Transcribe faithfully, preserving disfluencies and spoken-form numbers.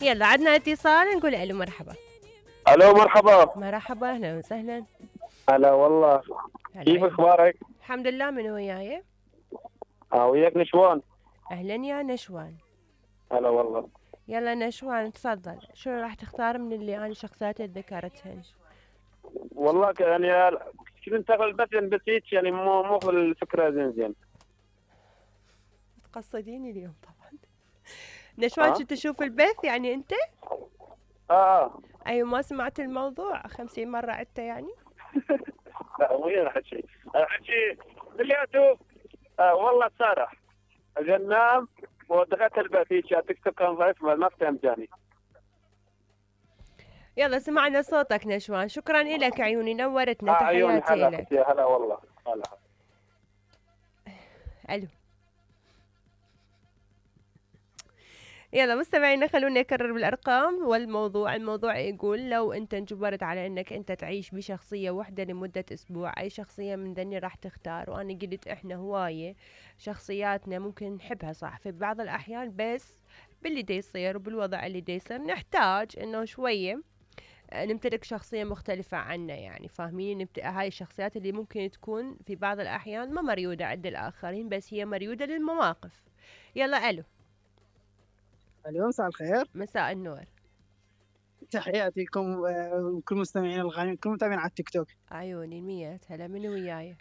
يلا عدنا اتصال نقول الو مرحبا. الو مرحبا. مرحبا اهلا وسهلا. هلا والله. هلا كيف عيون. اخبارك؟ الحمد لله. من وياي؟ اه وياك نشوان. اهلا يا نشوان. هلا والله. يلا نشوان تفضل، شو راح تختار من اللي انا شخصيات اللي ذكرتهن؟ والله ك- يعني كنت اشتغل بس يعني بس هيك يعني مو مو الفكره زين زين. تقصديني اليوم طبعا. نشوان ها؟ شو تشوف البث يعني انت؟ اه اه. ايوه ما سمعت الموضوع خمسين مرة عدته يعني. لا وين احكي؟ احكي كلياته. آه والله سارح. اجي انام ودخلت البيت هيك تكتب كان ضعيف ما فهمتني. يلا سمعنا صوتك نشوان، شكرا لك عيوني اه نورتنا، عيوني تحياتي هلا لك. يا هلا والله هلا. الو. يلا مستمعينا خلونا نكرر بالارقام والموضوع. الموضوع يقول لو انت انجبرت على انك انت تعيش بشخصية واحدة لمدة اسبوع، اي شخصية من ذني راح تختار؟ وانا قلت احنا هواية شخصياتنا ممكن نحبها صح في بعض الاحيان، بس باللي دي يصير وبالوضع اللي دي يصير نحتاج انه شوية نمتلك شخصية مختلفة عنا، يعني فاهمين؟ نمت... هاي الشخصيات اللي ممكن تكون في بعض الأحيان ما مريودة عند الآخرين، بس هي مريودة للمواقف. يلا ألو. الو مساء الخير. مساء النور. تحياتي لكم آه، وكل مستمعين الغاليين، كل متابعين على التيك توك. عيوني المية هلا. من وياي؟